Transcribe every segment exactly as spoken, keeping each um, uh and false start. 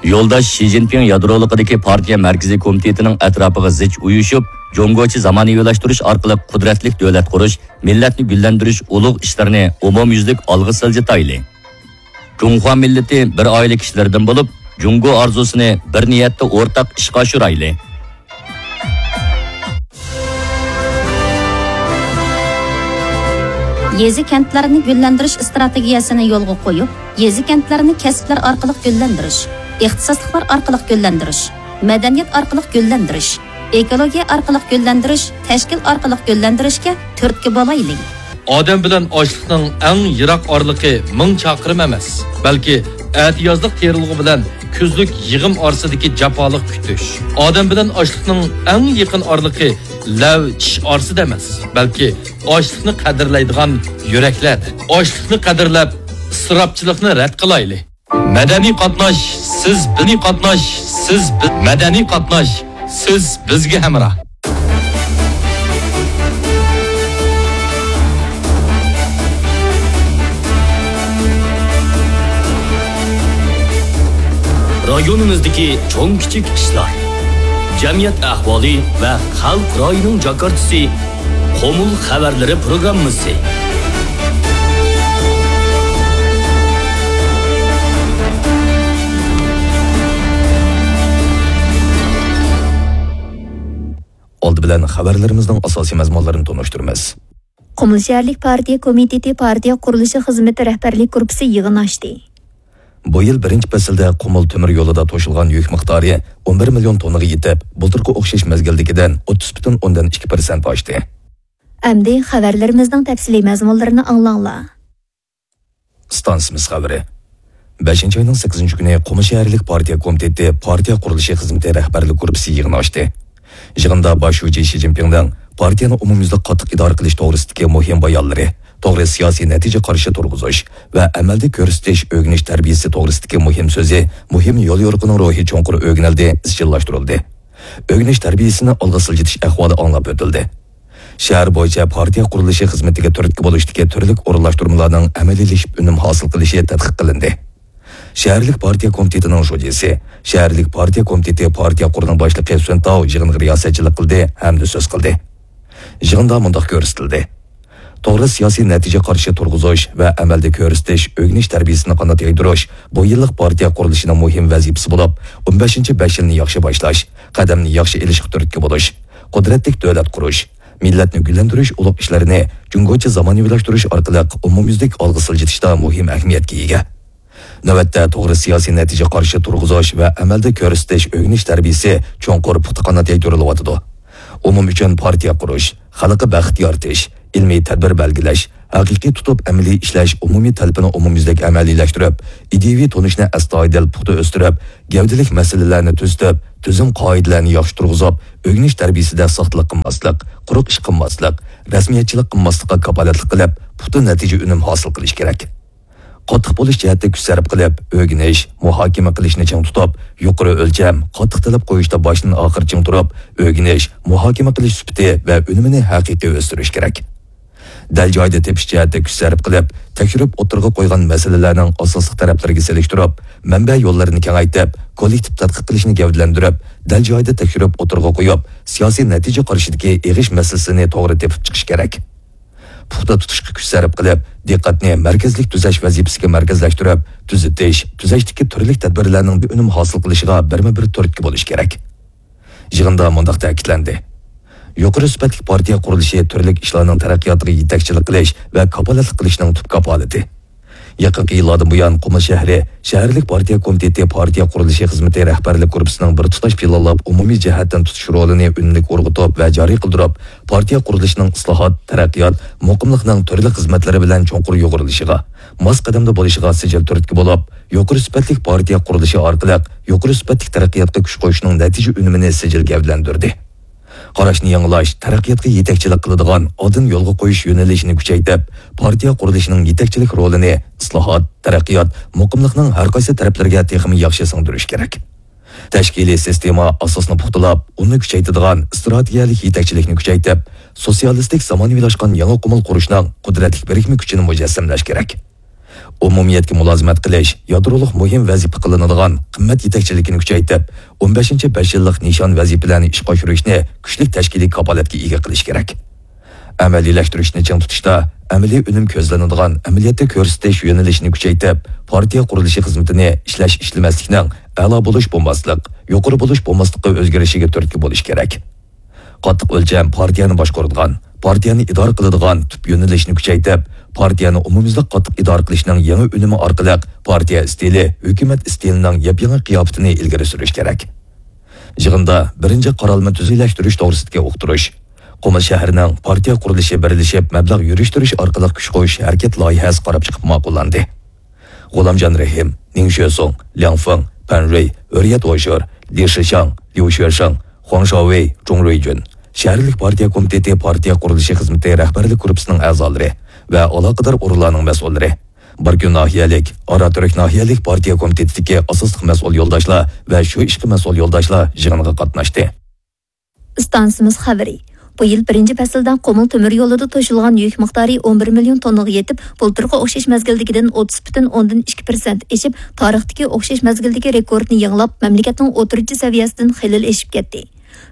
يولداش شى جىنپىڭ يادرولۇقىدىكى پارتىيە مەركىزىي كومىتېتىنىڭ ئەتراپىغا زىچ ئۇيۇشۇپ، جۇڭگوچە زامانىۋىلاشتۇرۇش ئارقىلىق قۇدرەتلىك دۆلەت قۇرۇش، مىللەتنى گۈللەندۈرۈش ئۇلۇغ ئىشلىرىنى ئومۇميۈزلۈك ئالغا سىلجىتايلى. جۇڭخۇا مىللىتى بىر ئائىلە كىشىلىرىدىن بولۇپ، جۇڭگو ئارزۇسىنى بىر نىيەتتە ئورتاق ئىشقا ئاشۇرايلى. يېزا-كەنتلەرنى گۈللەندۈرۈش ئىستراتېگىيەسىنى يولغا قويۇپ، يېزا-كەنتلەرنى كەسىپلەر ئارقىلىق گۈللەندۈرۈش، ئىختىساسلىقلار ئارقىلىق گۈللەندۈرۈش، مەدەنىيەت ئارقىلىق گۈللەندۈرۈش، ئېكولوگىيە ئارقىلىق گۈللەندۈرۈش، تەشكىل ئارقىلىق گۈللەندۈرۈشكە تۈرتكە بولايلى. ئادەم بىلەن ئاشلىقنىڭ ئەڭ يىراق ئارىلىقى مىڭ چاقىرىم ئەمەس، بەلكى ئەتىيازلىق تېرىلغۇ بىلەن كۈزلۈك يىغىم ئارىسىدىكى جاپالىق كۈتۈش. ئادەم بىلەن ئاشلىقنىڭ ئەڭ يېقىن ئارىلىقى لەۋ چىش ئارىسىدا ئەمەس، بەلكى ئاشلىقنى قەدىرلەيدىغان يۈرەكلەردە. ئاشلىقنى قەدىرلەپ، ئىسراپچىلىقنى رەت قىلايلى. مەدەنىي قاتناش، سىز بىلەن قاتناش، سىز بىز، مەدەنىي قاتناش، سىز بىزگە ھەمراھ. رايونىمىزدىكى چوڭ-كىچىك ئىشلار، جەمئىيەت ئەھۋالى ۋە خەلق رايىنىڭ جاكارتىسى، قۇمۇل خەۋەرلىرى پروگراممىسى. ئالدى بىلەن خەۋەرلىرىمىزنىڭ ئاساسىي مەزمۇنلىرىنى تونۇشتۇرىمىز. قۇمۇل شەھەرلىك پارتىيە كومىتېتى پارتىيە قۇرۇلۇشى خىزمىتى رەھبەرلىك گۇرۇپپىسى يىغىن ئاچتى. بۇ يىل بىرىنچى پەسىلدە قۇمۇل تۆمۈر يولىدا توشۇلغان يۈك مىقدارى ئون بىر مىليون توننىغا يېتىپ، بۇلتۇرقى ئوخشاش مەزگىلدىكىدىن ئوتتۇز پۈتۈن ئوندىن ئىككى پىرسەنت ئاشتى. ئەمدى خەۋەرلىرىمىزنىڭ تەپسىلىي مەزمۇنلىرىنى ئاڭلاڭلار. ئىستانسىمىز خەۋىرى. بەشىنچى ئاينىڭ سەككىزىنچى كۈنى قۇمۇل شەھەرلىك پارتىيە كومىتېتى پارتىيە قۇرۇلۇشى خىزمىتى رەھبەرلىك گۇرۇپپىسى يىغىنى ئاچتى. يىغىندا باش شۇجى شى جىنپىڭنىڭ پارتىيەنى ئومۇميۈزلۈك قاتتىق ئىدارە قىلىش توغرىسىدىكى مۇھىم بايانلىرى، توغرا سىياسىي نەتىجە قارىشى تۇرغۇزۇش ۋە ئەمەلدە كۆرسىتىش، ئۆگىنىش تەربىيەسى توغرىسىدىكى مۇھىم سۆزى، مۇھىم يوليورۇقىنىڭ روھى چوڭقۇر ئۆگىنىلدى، ئىزچىللاشتۇرۇلدى. ئۆگىنىش تەربىيەسىنى ئالغا سىلجىتىش ئەھۋالى ئاڭلاپ ئۆتۈلدى. شەھەر بويىچە پارتىيە قۇرۇلۇشى خىزمىتىگە تۈرتكە بولۇشتىكى تۈرلۈك ئورۇنلاشتۇرمىلارنىڭ ئەمەلىيلىشىپ ئۈنۈم ھاسىل قىلىشى تەتقىق قىلىندى. شەھەرلىك پارتىيە كومىتېتىنىڭ شۇجىسى، شەھەرلىك پارتىيە كومىتېتى پارتىيە قورۇنىڭ باشلىقى سۈەن تاۋ يىغىنغا رىياسەتچىلىك قىلدى ھەمدە سۆز قىلدى. يىغىندا مۇنداق كۆرسىتىلدى. توغرا سىياسىي نەتىجە قارىشى تۇرغۇزۇش ۋە ئەمەلدە كۆرسىتىش، ئۆگىنىش تەربىيەسىنى قانات يايدۇرۇش بۇ يىللىق پارتىيە قۇرۇلۇشىنىڭ مۇھىم ۋەزىپىسى بولۇپ، ئون بەشىنچى بەش يىلنى ياخشى باشلاش، قەدەمنى ياخشى ئېلىشقا تۈرتكە بولۇش، قۇدرەتلىك دۆلەت قۇرۇش، مىللەتنى گۈللەندۈرۈش ئۇلۇغ ئىشلىرىنى جۇڭگوچە زامانىۋىلاشتۇرۇش ئارقىلىق ئومۇميۈزلۈك ئالغا سىلجىتىشتا مۇھىم ئەھمىيەتكە ئىگە. نۆۋەتتە توغرا سىياسىي نەتىجە قارىشى تۇرغۇزۇش ۋە ئەمەلدە كۆرسىتىش ئۆگىنىش تەربىيەسى چوڭقۇر پۇختا قانات يايدۇرۇلۇۋاتىدۇ. ئومۇم ئۈچۈن پارتىيە قۇرۇش، خەلققە بەخت يارىتىش، ئىلمىي تەدبىر بەلگىلەش، ھەقىقىي تۇتۇپ ئەمەلىي ئىشلەش ئومۇمىي تەلىپىنى ئومۇميۈزلۈك ئەمەلىيلەشتۈرۈپ، ئىدىيىۋى تونۇشنى ئەستايىدىل پۇختا ئۆستۈرۈپ، گەۋدىلىك مەسىلىلەرنى تۈزىتىپ، تۈزۈم قائىدىلەرنى ياخشى تۇرغۇزۇپ، ئۆگىنىش تەربىيەسىدە ساختىلىق قىلماسلىق، قۇرۇق ئىش قىلماسلىق، رەسمىيەتچىلىك قىلماسلىققا كاپالەتلىك قىلىپ، پۇختا نەتىجە ئۈنۈم ھاسىل قىلىش كېرەك. قاتتىق بولۇش جەھەتتە كۈچ سەرپ قىلىپ، ئۆگىنىش، مۇھاكىمە قىلىشنى چىڭ تۇتۇپ، يۇقىرى ئۆلچەم، قاتتىق تەلەپ قويۇشتا باشتىن ئاخىر چىڭ تۇرۇپ، ئۆگىنىش، مۇھاكىمە قىلىش سۈپىتى ۋە ئۈنۈمىنى ھەقىقىي ئۆستۈرۈش كېرەك. دەل جايىدا تېپىش جەھەتتە كۈچ سەرپ قىلىپ، تەكشۈرۈپ ئوتتۇرىغا قويغان مەسىلىلەرنىڭ ئاساسلىق تەرەپلىرىگە سېلىشتۇرۇپ، مەنبە يوللىرىنى كېڭەيتىپ، كوللېكتىپ تەتقىق قىلىشنى گەۋدىلەندۈرۈپ، دەل جايىدا تەكشۈرۈپ ئوتتۇرىغا قويۇپ، سىياسىي نەتىجە قارىشىدىكى ئېغىش مەسىلىسىنى توغرا تېپىپ چىقىش كېرەك. پۇختا تۇتۇشقا كۈچ سەرپ قىلىپ، دىققەتنى مەركەزلىك تۈزەش ۋەزىپىسىگە مەركەزلەشتۈرۈپ، تۈزىتىش، تۈزەشتىكى تۈرلۈك تەدبىرلەرنىڭ ئۈنۈم ھاسىل قىلىشىغا بىرمۇ بىر تۈرتكە بولۇش كېرەك. يىغىندا مۇنداق تەكىتلەندى: يۇقىرى سۈپەتلىك پارتىيە قۇرۇلۇشى تۈرلۈك ئىشلارنىڭ تەرەققىياتىغا يېتەكچىلىك قىلىش ۋە كاپالەتلىك قىلىشنىڭ تۈپ كاپالىتى. يېقىنقى يىللاردىن بۇيان، قۇمۇل شەھىرى شەھەرلىك پارتىيە كومىتېتى پارتىيە قۇرۇلۇشى خىزمىتى رەھبەرلىك گۇرۇپپىسىنىڭ بىر تۇتاش پىلانلاپ، ئومۇمىي جەھەتتىن تۇتۇش رولىنى ئۈنۈملۈك ئورغىتىپ ۋە جارى قىلدۇرۇپ، پارتىيە قۇرۇلۇشىنىڭ ئىسلاھات، تەرەققىيات، مۇقىملىقنىڭ تۈرلۈك خىزمەتلىرى بىلەن چوڭقۇر يۇغۇرۇلۇشىغا، ماس قەدەمدە بولۇشىغا سىجىل تۈرتكە بولۇپ، يۇقىرى سۈپەتلىك پارتىيە قۇرۇلۇشى ئارقىلىق يۇقىرى سۈپەتلىك تەرەققىياتقا كۈچ قوشۇشنىڭ نەتىجە ئۈنۈمىنى سىجىل گەۋدىلەندۈردى. قاراشنى يېڭىلاش، تەرەققىياتقا يېتەكچىلىك قىلىدىغان ئالدىن يولغا قويۇش يۆنىلىشىنى كۈچەيتىپ، پارتىيە قۇرۇلۇشىنىڭ يېتەكچىلىك رولىنى ئىسلاھات، تەرەققىيات، مۇقىملىقنىڭ ھەر قايسى تەرەپلىرىگە تېخىمۇ ياخشى سىڭدۈرۈش كېرەك. تەشكىلىي سىستېما ئاساسىنى پۇختىلاپ، ئۇنى كۈچەيتىدىغان ئىستراتېگىيەلىك يېتەكچىلىكنى كۈچەيتىپ، سوتسىيالىستىك زامانىۋىلاشقان يېڭى قۇمۇل قۇرۇشنىڭ قۇدرەتلىك بىرىكمە كۈچىنى مۇجەسسەملەش كېرەك. ئومۇمىيەتكە مۇلازىمەت قىلىش، يادرولۇق مۇھىم ۋەزىپە قىلىنىدىغان قىممەت يېتەكچىلىكىنى كۈچەيتىپ، ئون بەشىنچى بەش يىللىق نىشان ۋەزىپىلەرنى ئىشقا ئاشۇرۇشنى كۈچلۈك تەشكىلىي كاپالەتكە ئىگە قىلىش كېرەك. ئەمەلىيلەشتۈرۈشنى چىڭ تۇتۇشتا، ئەمەلىي ئۈنۈم كۆزلىنىدىغان ئەمەلىيەتتە كۆرسىتىش يۆنىلىشىنى كۈچەيتىپ، پارتىيە قۇرۇلۇشى خىزمىتىنى ئىشلەش-ئىشلىمەسلىكنىڭ ئەلا بولۇش بولماسلىق، يۇقىرى بولۇش بولماسلىققا ئۆزگىرىشىگە تۈرتكە بولۇش كېرەك. قاتتىق ئۆلچەم پارتىيەنى باشقۇرىدىغان، پارتىيەنى ئىدارە قىلىدىغان تۈپ يۆنىلىشنى كۈچەيتىپ، پارتىيەنى ئومۇميۈزلۈك قاتتىق ئىدارە قىلىشنىڭ يېڭى ئۈنۈمى ئارقىلىق پارتىيە ئىستىلى، ھۆكۈمەت ئىستىلىنىڭ ياپيېڭى قىياپىتىنى ئىلگىرى سۈرۈش كېرەك. يىغىندا بىرىنچى قارالما تۈزۈكلەشتۈرۈش توغرىسىدىكى ئۇقتۇرۇش، قۇمۇل شەھىرىنىڭ پارتىيە قۇرۇلۇشى بىرلىشىپ مەبلەغ يۈرۈشتۈرۈش ئارقىلىق كۈچ قوشۇش ھەرىكەت لايىھەسى قاراپ چىقىپ ماقۇللاندى. غۇلامجان رەھىم، نىڭ شۆسۇڭ، لياڭ فېڭ، پەن رۇي، ھۆرىيەت ئويشۇر، لى شىشاڭ، ليۇ شۆشېڭ، خۇاڭ شاۋېي، جۇڭ رۇيجۈن، شەھەرلىك پارتىيە كومىتېتى پارتىيە قۇرۇلۇشى خىزمىتى رەھبەرلىك گۇرۇپپىسىنىڭ ئەزالىرى ۋە ئالاقىدار ئورۇنلارنىڭ مەسئۇللىرى، باركۈن ناھىيەلىك، ئاراتۈرك ناھىيەلىك پارتىيە كومىتېتىدىكى ئاساسلىق مەسئۇل يولداشلار ۋە شۇ ئىشقا مەسئۇل يولداشلار يىغىنغا قاتناشتى. ئىستانسىمىز خەۋىرى. بۇ يىل بىرىنچى پەسىلدە قۇمۇل تۆمۈر يولىدا توشۇلغان يۈك مىقدارى ئون بىر مىليون توننىغا يېتىپ، بۇلتۇرقى ئوخشاش مەزگىلدىكىدىن ئوتتۇز پۈتۈن ئوندىن ئىككى پىرسەنت ئېشىپ، تارىختىكى ئوخشاش مەزگىلدىكى رېكورتنى يېڭىلاپ، مەملىكەتنىڭ ئوتتۇرىچە سەۋىيەسىدىن خېلىلا ئېشىپ كەتتى.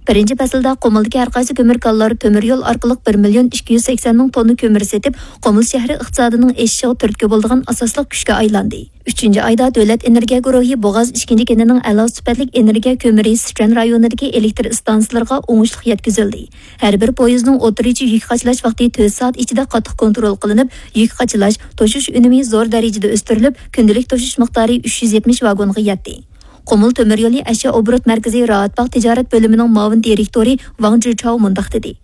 بىرىنچى پەسىلدە قۇمۇلدىكى ھەر قايسى كۆمۈر كانلار تۆمۈر يول ئارقىلىق بىر مىليون ئىككى يۈز سەكسەن مىڭ توننا كۆمۈر سېتىپ، قۇمۇل شەھىرى ئىقتىسادىنىڭ ئېشىشىغا تۈرتكە بولىدىغان ئاساسلىق كۈچكە ئايلاندى. ئۈچىنچى ئايدا دۆلەت ئېنېرگىيە گۇرۇھى بوغاز ئىككىنچى كېنىنىڭ ئەلا سۈپەتلىك ئېنېرگىيە كۆمۈرى سىچۈەن رايونىدىكى ئېلېكتر ئىستانسىلىرىغا ئوڭۇشلۇق يەتكۈزۈلدى. ھەر بىر پويىزنىڭ ئوتتۇرىچە يۈك قاچىلاش ۋاقتى تۆت سائەت ئىچىدە قاتتىق كونترول قىلىنىپ، يۈك قاچىلاش، توشۇش ئۈنۈمى زور دەرىجىدە ئۆستۈرۈلۈپ، كۈندىلىك توشۇش مىقدارى ئۈچ يۈز يەتمىش ۋاگونغا يەتتى. قۇمۇل تۆمۈر يولى ئەشيا ئوبوروت مەركىزى راھەتباغ تىجارەت بۆلۈمىنىڭ مۇئاۋىن دىرېكتورى ۋاڭ جىچاۋ مۇنداق دېدى.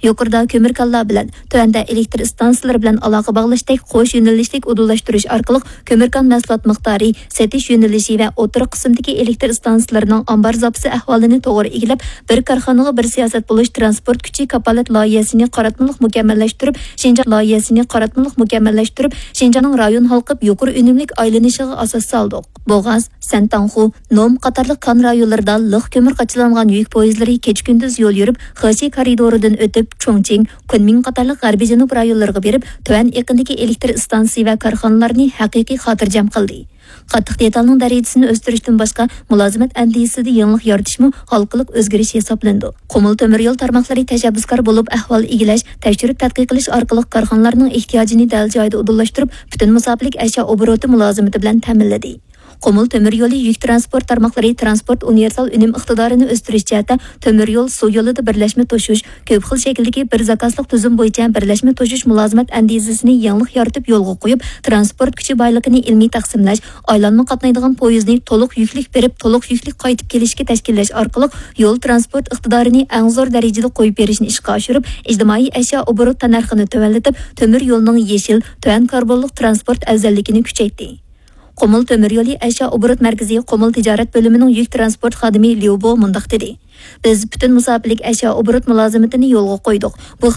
يۇقىرىدا كۆمۈر كانلار بىلەن، تۆۋەندە ئېلېكتر ئىستانسىلىرى بىلەن ئالاقە باغلاشتەك قوش يۆنىلىشلىك ئۇدۇللاشتۇرۇش ئارقىلىق كۆمۈر كان مەھسۇلات مىقدارى، سېتىش يۆنىلىشى ۋە ئوتتۇرا قىسىمدىكى ئېلېكتر ئىستانسىلىرىنىڭ ئامبار زاپىسى ئەھۋالىنى توغرا ئىگىلەپ، بىر كارخانىغا بىر سىياسەت بولۇش تىرانسپورت كۈچى كاپالەت لايىھەسىنى قاراتمىلىق مۇكەممەللەشتۈرۈپ، شىنجاڭ لايىھەسىنى قاراتمىلىق مۇكەممەللەشتۈرۈپ، شىنجاڭنىڭ رايون ھالقىپ يۇقىرى ئۈنۈملۈك ئايلىنىشىغا ئاساس سالدۇق. بوغاز، سەنتاڭخۇ، نوم قاتارلىق كان رايونلىرىدا لىق كۆمۈر قاچىلانغان يۈك پويىزلىرى كېچە-كۈندۈز يول يۈرۈپ، خېشى كارىدورىدىن ئۆتۈپ، چۇڭچىڭ، كۇنمىڭ قاتارلىق غەربىي جەنۇب رايونلىرىغا بېرىپ، تۆۋەن ئېقىندىكى ئېلېكتر ئىستانسىسى ۋە كارخانىلارنى ھەقىقىي خاتىرجەم قىلدى. قاتتىق دېتالنىڭ دەرىجىسىنى ئۆستۈرۈشتىن باشقا، مۇلازىمەت ئەندىزىسىدە يېڭىلىق يارىتىشمۇ ھالقىلىق ئۆزگىرىش ھېسابلىنىدۇ. قۇمۇل تۆمۈر يول تارماقلىرى تەشەببۇسكار بولۇپ، ئەھۋال ئىگىلەش، تەكشۈرۈپ تەتقىق قىلىش ئارقىلىق كارخانىلارنىڭ ئېھتىياجىنى دەل جايىدا ئۇدۇللاشتۇرۇپ، پۈتۈن مۇساپىلىك ئەشيا ئوبوروتى مۇلازىمىتى بىلەن تەمىنلىدى. قۇمۇل تۆمۈر يولى يۈك تىرانسپورت تارماقلىرى تىرانسپورت ئۇنىۋېرسال ئۈنۈم ئىقتىدارىنى ئۆستۈرۈش جەھەتتە تۆمۈر يول، سۇ يولىدا بىرلەشمە توشۇش، كۆپ خىل شەكىلدىكى بىر زاكازلىق تۈزۈم بويىچە بىرلەشمە توشۇش مۇلازىمەت ئەندىزىسىنى يېڭىلىق يارىتىپ يولغا قويۇپ، تىرانسپورت كۈچى بايلىقىنى ئىلمىي تەقسىملەش، ئايلانما قاتنايدىغان پويىزنى تولۇق يۈكلۈك بېرىپ، تولۇق يۈكلۈك قايتىپ كېلىشكە تەشكىللەش ئارقىلىق يول تىرانسپورت ئىقتىدارىنى ئەڭ زور دەرىجىدە قويۇپ بېرىشنى ئىشقا ئاشۇرۇپ، ئىجتىمائىي ئەشيا ئوبوروت تەننەرخىنى تۆۋەنلىتىپ، تۆمۈر يولنىڭ يېشىل، تۆۋەن كاربونلۇق تىرانسپورت ئەۋزەللىكىنى كۈچەيتتى. قۇمۇل تۆمۈر يولى ئەشيا ئوبوروت مەركىزى قۇمۇل تىجارەت بۆلۈمىنىڭ يۈك تىرانسپورت خادىمى ليۇ بو مۇنداق دېدى: بىز پۈتۈن مۇساپىلىك ئەشيا ئوبوروت مۇلازىمىتىنى يولغا قويدۇق. بۇ